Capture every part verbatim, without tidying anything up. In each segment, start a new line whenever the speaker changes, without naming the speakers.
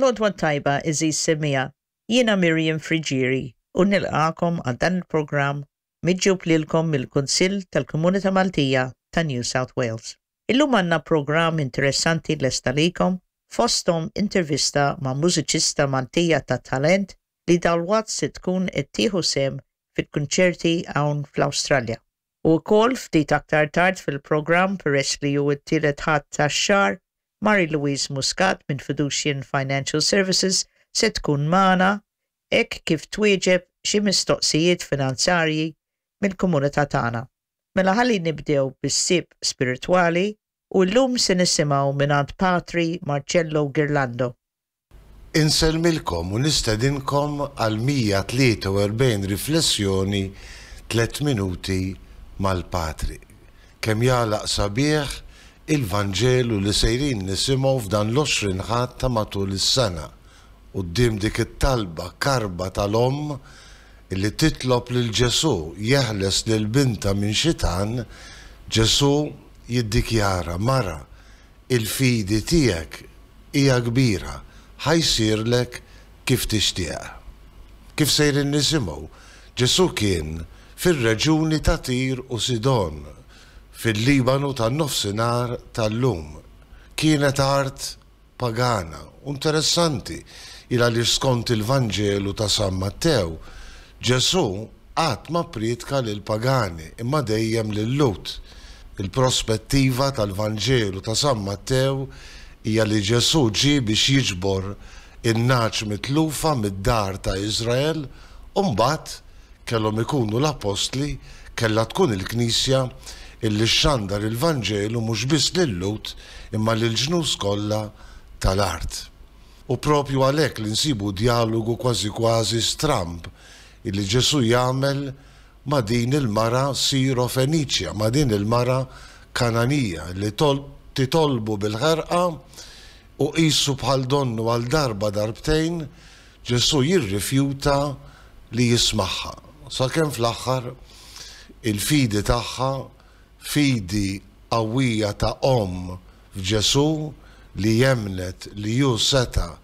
L-għodwa t-tajba, għeżież semmiegħa, jiena Miriam Friggieri u nilqagħkom għal dan il-programm miġjub lilkom mill-Kunsill tal-Komunità Maltija ta' New South Wales. Illum għandna programm interessanti lest għalikom, fosthom intervista ma' mużiċista Maltija ta' talent li dalwaqt se tkun qed tieħu sehem fil-kunċerti hawn fl-Awstralja. U wkoll ftit aktar tard fil-programm, peress li hu t-tielet Ħadd tax-xahar, Marie Louise Muscat minn Fiducian Financial Services se tkun magħna hekk kif twieġeb xi mistoqsijiet finanzarji mill-komunità tagħna. Mela ħalli nibdew bis-sib spiritwali u llum se nisimgħu mingħand Patri Marcello Ghirlando.
Insellmilkom u nistedinkom għal mija tlieta u erbgħin riflessjoni, tliet minuti mal-Patri. Kemm jagħlaq sabiħ il-Vanġelu li sejrin nisimgħu f'dan l-għoxrin Ħadd ta' matul is-sena. Quddiem dik it-talba karba tal-omm illi titlob lil Ġesù jeħles lil binta minn xitan, Ġesù jiddikjara: "Mara, il-fidi tiegħek hija kbira, ħa jsirlek kif tixtieq." Kif sejrin nisimgħu, Ġesù kien fir-reġuni ta' Tir u Sidon, fil-Libanu tan-nofsinhar tal-lum. Kienet art pagana, interessanti, il għaliex skont il-Vanġelu ta' San Mattew, Ġesù qatt ma pritka lil pagani imma dejjem lil Lhud. Il-prospettiva tal-Vanġelu ta' San Mattew hija li Ġesù ġie biex jiġbor in-nagħaġ mitlufa mid-dar ta' Izrael u mbagħad kellhom ikunu l-apostli, kellha tkun il-Knisja illi xandar il-Vanġelu mhux biss lil-Lhud imma lil-ġnus kollha tal-art. U propju għalhekk li nsibu dialogu kważi kważi stramb illi Ġesù jagħmel ma' din il-mara Siro Feniċja, ma' din il-mara Kananija li titolbu bil-ħerqa u qisu bħal donnu għal darba darbtejn Ġesù jirrifjuta li jismagħha. Sakemm fl-aħħar il-fidi tagħha, fidi qawwija ta' omm f'Ġesù li emmnet li hu seta'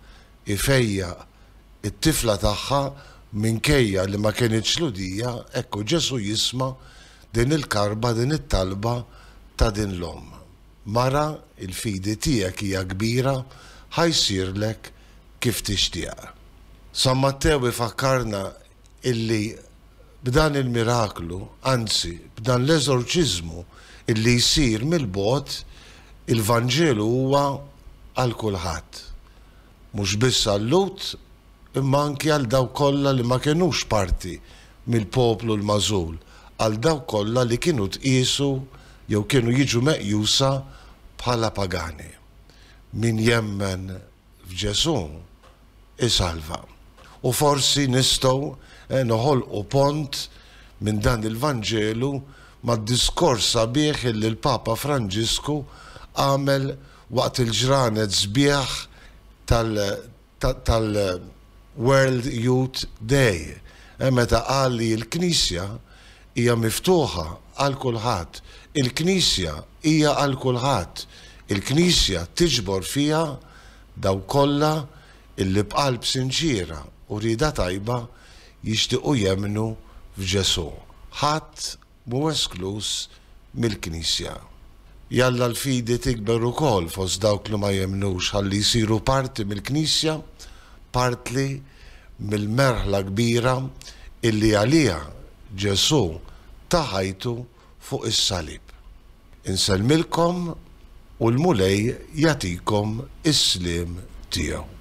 ifejjaq it-tifla tagħha minkejja li ma kienitx Lhudija, ekku Ġesù jisma' din il-karba, din it-talba ta' din l-omm. "Mara, il-fidi tiegħek hija kbira, ħa jsirlek kif tixtieq." San Mattew ifakkarna illi b'dan il-miraklu, anzi b'dan l-eżorċiżmu illi jsir mill-bogħod, il-Vanġelu huwa għal kulħadd. Mhux biss għal-Lhud, imma anki għal dawk kollha li ma kinux parti mill-poplu l-magħżul, għal dawk kollha li kienu tqisu jew kienu jiġu meqjusa bħala pagani. Min jemmen f'Ġesù isalva. U forsi nistgħu eh, noħolqu pont minn dan il-Vanġelu mad-diskors sabiħ li l-Papa Franġisku għamel waqt il-ġranet sbieħ tal-World Youth Day. Eh, meta qal li l-Knisja hija miftuħa għal kulħadd. Il-Knisja hija għal kulħadd. Il-Knisja tiġbor fiha dawk kollha illi b'qalb sinċira u rieda tajba jixtiequ jemmnu f'Ġesù. Ħadd mhu esklus mill-Knisja. Jalla l-fidi tikber ukoll fost dawk li ma jemmnux ħalli jsiru parti mill-Knisja, parti mill-merħla kbira illi għaliha Ġesù ta ħajtu fuq is-salib. Insellmilkom u l-Mulej jagħtikom is-sliem tiegħu.